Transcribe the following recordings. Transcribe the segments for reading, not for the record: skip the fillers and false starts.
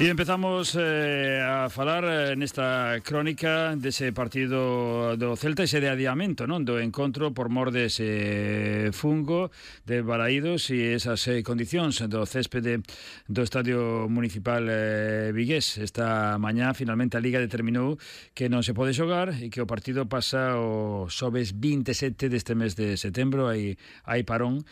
E empezamos a falar nesta crónica dese partido do Celta, ese de adiamento, non, do encontro por mor dese fungo de Balaídos e esas condicións do céspede do Estadio Municipal vigués. Esta mañá finalmente a Liga determinou que non se pode xogar e que o partido pasa o xoves 27 deste mes de setembro. Hai parón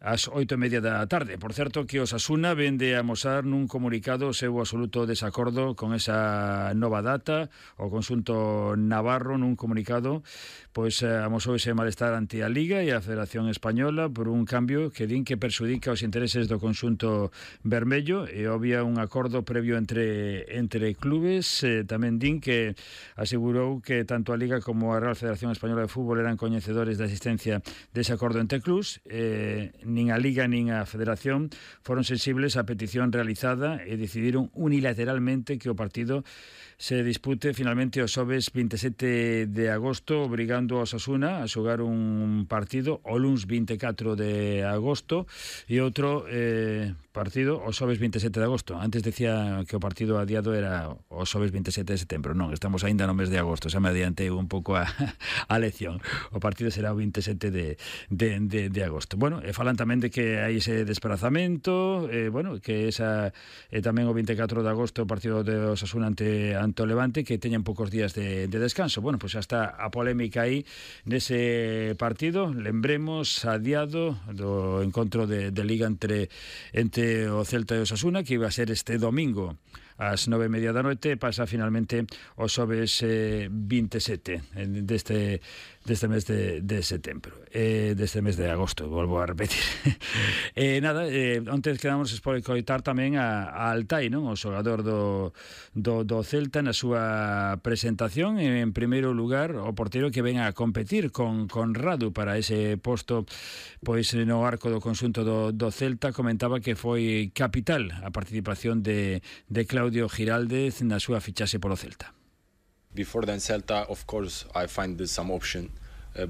ás 8:30 da tarde. Por certo, que Osasuna vende a amosar nun comunicado o seu absoluto desacordo con esa nova data. O conxunto navarro nun comunicado pois amosou ese malestar ante a Liga e a Federación Española por un cambio que din que perxudica os intereses do conxunto vermello e obvia un acordo previo entre clubes. Tamén din que asegurou que tanto a Liga como a Real Federación Española de Fútbol eran coñecedores da existencia dese acordo entre clubes. Nin a Liga nin a Federación foron sensibles á petición realizada e decidiron unilateralmente que o partido se dispute finalmente o xoves 27 de agosto, obrigando a Osasuna a xogar un partido o luns 24 de agosto e outro partido o xoves 27 de agosto. Antes decía que o partido adiado era o xoves 27 de setembro. Non, estamos aínda no mes de agosto, xa me adiantei un pouco a lección. O partido será o 27 de agosto. Bueno, falan tamén de que hai ese desplazamento, que esa tamén o 24 de agosto o partido de Osasuna ante o Levante, que teñen poucos días de descanso. Bueno, pois xa está a polémica aí nese partido, lembremos, adiado do encontro de Liga entre o Celta e o Osasuna, que iba a ser este domingo ás 9:30 da noite, pasa finalmente o xoves 27 deste mes de setembro, deste mes de agosto, volvo a repetir. Onte quedamos por coitar tamén a Altai, non? O xogador do Celta na súa presentación. En primeiro lugar, o porteiro que ven a competir con Radu para ese posto pois no arco do conxunto do Celta, comentaba que foi capital a participación de Claudio Giraldez na súa fichaxe polo Celta. Before then Celta, of course, I find there's some option,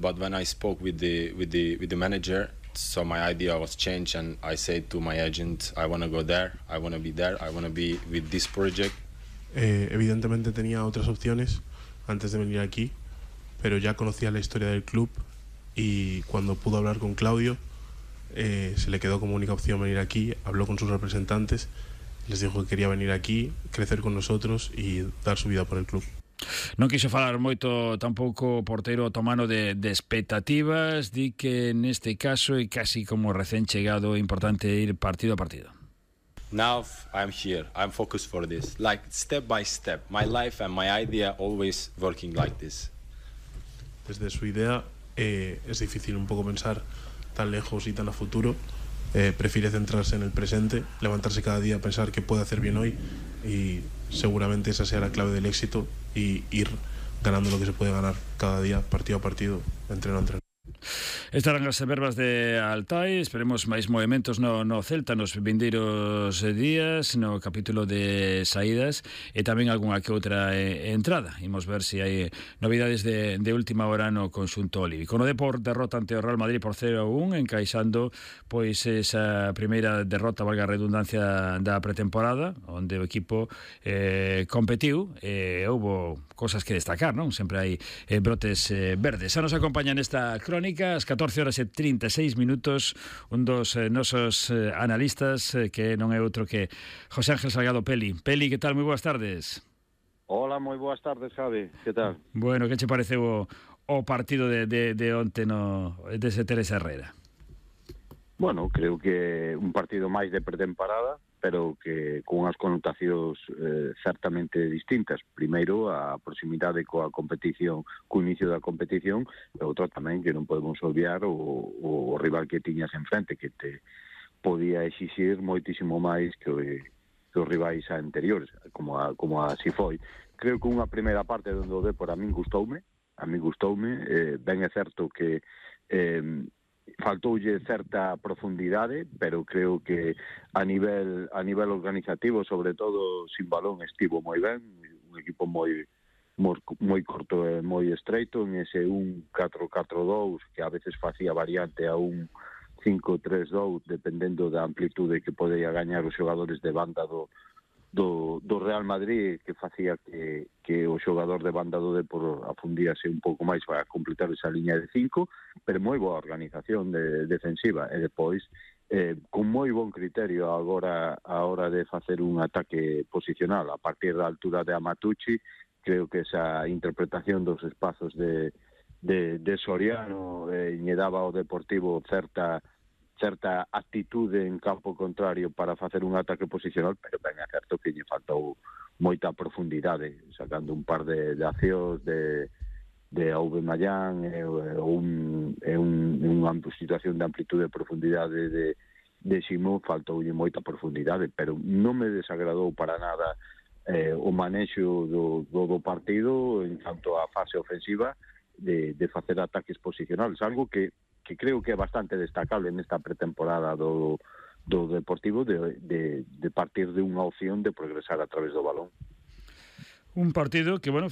but when I spoke with the manager, so my idea was changed, and I said to my agent, I want to go there, I want to be there, I want to be with this project. Evidentemente tenía otras opciones antes de venir aquí, pero ya conocía la historia del club y cuando pudo hablar con Claudio, se le quedó como única opción venir aquí. Habló con sus representantes, les dijo que quería venir aquí, crecer con nosotros y dar su vida por el club. Non quixo falar moito tampouco o porteiro otomano de expectativas, di que neste caso é casi como recén chegado, importante ir partido a partido. Now I'm here, I'm focused for this, like step by step, my life and my idea always working like this. Desde su idea es difícil un poco pensar tan lejos y tan a futuro. Prefiere centrarse en el presente, levantarse cada día, pensar que puede hacer bien hoy, y seguramente esa sea la clave del éxito, y ir ganando lo que se puede ganar cada día, partido a partido, entreno a entreno. Estarán as verbas de Altai. Esperemos máis movimentos no Celta nos vindeiros días, no capítulo de saídas, e tamén algunha que outra entrada. Imos ver se hai novidades de última hora no conxunto olívico. No Depor, derrota ante o Real Madrid por 0-1, encaixando pois esa primeira derrota, valga a redundancia, da pretemporada, onde o equipo competiu e houbo cosas que destacar, non? Sempre hai brotes verdes. Xa nos acompaña nesta crónica ás 14:36, un dos nosos analistas, que non é outro que José Ángel Salgado Peli. Peli, que tal? Moi boas tardes. Hola, moi boas tardes, Javi. Que tal? Bueno, que che pareceu o partido de onte dese Teresa Herrera? Bueno, creo que un partido máis de pretemporada, pero que con unhas connotacións certamente distintas. Primeiro, a proximidade coa competición, co inicio da competición, e outro tamén que non podemos obviar o rival que tiñas enfrente, que te podía exixir moitísimo máis que os rivais anteriores, como así foi. Creo que unha primeira parte onde o Depor a min gustoume, ben é certo que faltoulle certa profundidade, pero creo que a nivel organizativo, sobre todo sin balón, estivo moi ben. Un equipo moi corto e moi estreito en ese 1-4-4-2 que a veces facía variante a un 5-3-2, dependendo da amplitude que podía gañar os xogadores de banda do Real Madrid, que facía que o xogador de banda do Depor afundíase un pouco máis para completar esa liña de 5, pero moi boa organización defensiva, e depois con moi bon criterio agora a hora de facer un ataque posicional a partir da altura de Amatucci. Creo que esa interpretación dos espazos de Soriano lle daba ao Deportivo certa actitude en campo contrario para facer un ataque posicional, pero ben é certo que lle faltou moita profundidade, sacando un par de accións de Aubameyang unha situación de amplitude e profundidade de Simón, faltoulle moita profundidade, pero non me desagradou para nada o manexo do partido en canto á fase ofensiva de facer ataques posicionales, algo que creo que é bastante destacable nesta pretemporada do Deportivo de partir de unha opción de progresar a través do balón. Un partido que, bueno,